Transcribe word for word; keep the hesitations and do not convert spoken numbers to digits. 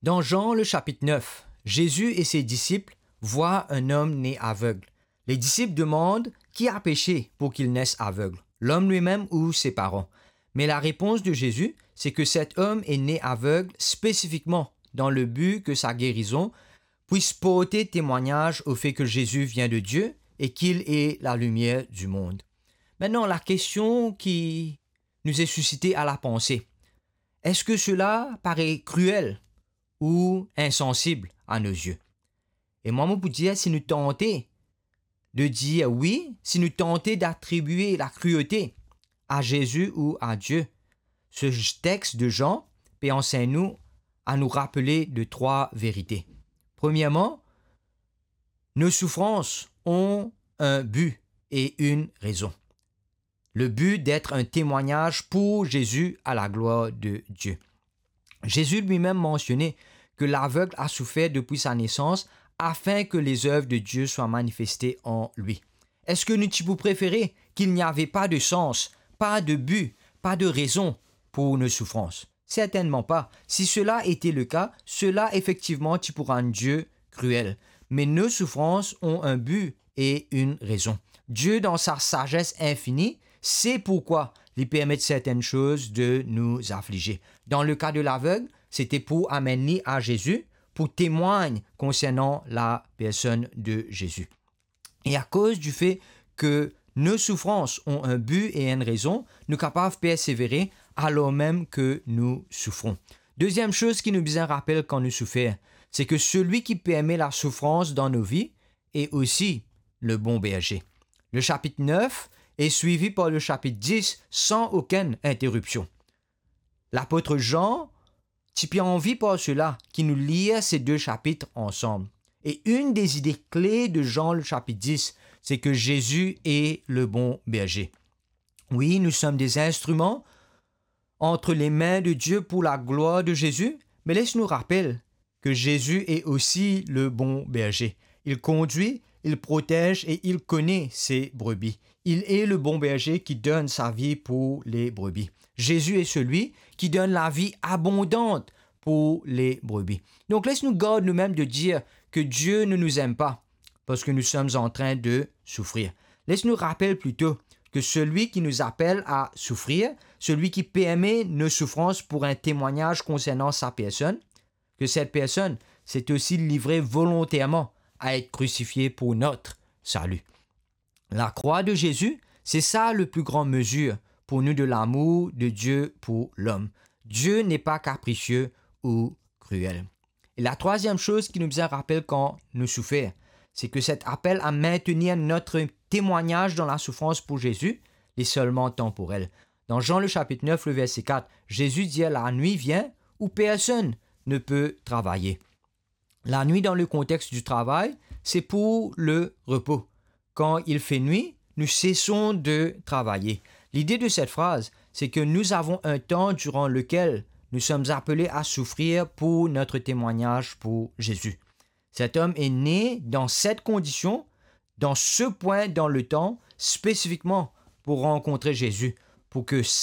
Dans Jean le chapitre neuf, Jésus et ses disciples voient un homme né aveugle. Les disciples demandent qui a péché pour qu'il naisse aveugle, l'homme lui-même ou ses parents. Mais la réponse de Jésus, c'est que cet homme est né aveugle spécifiquement dans le but que sa guérison puisse porter témoignage au fait que Jésus vient de Dieu et qu'il est la lumière du monde. Maintenant, la question qui nous est suscitée à la pensée, est-ce que cela paraît cruel ou insensible à nos yeux? E mwa, mo pou dir, si nou tante de dir wi, si nou tante d'atribier la cruauté à Jésus ou à Dieu, ce texte de Jean peut enseigner nous à nous rappeler de trois vérités. Premièrement, nos souffrances ont un but et une raison. Le but d'être un témoignage pour Jésus à la gloire de Dieu. Jésus lui-même mentionnait que l'aveugle a souffert depuis sa naissance afin que les œuvres de Dieu soient manifestées en lui. Est-ce que nou ti pou préféré qu'il n'y avait pas de sens, pas de but, pas de raison pour nos souffrances? Certainement pas. Si cela était le cas, cela effectivement ti pou rann Dieu cruel. Mais nos souffrances ont un but et une raison. Dieu, dans sa sagesse infinie, sait pourquoi il permet certaines choses de nous affliger. Dans le cas de l'aveugle, c'était pour amener à Jésus, pour témoigner concernant la personne de Jésus. Et à cause du fait que nos souffrances ont un but et une raison, nou kapav persévérer alors même que nous souffrons. Deuxième chose ki nou bizin rapel kan nou soufer, c'est que celui qui permet la souffrance dans nos vies est aussi le bon berger. Le chapitre neuf est suivi par le chapitre dix sans aucune interruption. L'apôtre Jean ti pe anvi par sela ki nou lir ces deux chapitres ensemble. Et une des idées clés de Jean le chapitre dix, c'est que Jésus est le bon berger. Oui, nous sommes des instruments entre les mains de Dieu pour la gloire de Jésus, mais laisse nous rappeler que Jésus est aussi le bon berger. Il conduit, il protège et il connaît ses brebis. Il est le bon berger qui donne sa vie pour les brebis. Jésus est celui qui donne la vie abondante pour les brebis. Donc laisse nous garder nous-mêmes de dire que Dieu ne nous aime pas parce que nous sommes en train de souffrir. Laisse nous rappeler plutôt que celui qui nous appelle à souffrir, celui qui permet nos souffrances pour un témoignage concernant sa personne, que cette personne s'est aussi livrée volontairement à être crucifiée pour notre salut. La croix de Jésus, c'est ça le plus grand mesure pour nous de l'amour de Dieu pour l'homme. Dieu n'est pas capricieux ou cruel. Et la troisième chose ki nou bizin rapel kan nou soufer, c'est que cet appel à maintenir notre témoignage dans la souffrance pour Jésus, il est seulement temporel. Dans Jean le chapitre neuf, le verset quatre, Jésus dit, la nuit vient où personne ne peut travailler. La nuit dans le contexte du travail, c'est pour le repos. Quand il fait nuit, nous cessons de travailler. L'idée de cette phrase, c'est que nous avons un temps durant lequel nous sommes appelés à souffrir pour notre témoignage pour Jésus. Cet homme est né dans cette condition, dans ce point dans le temps, spécifiquement pour rencontrer Jésus, pour que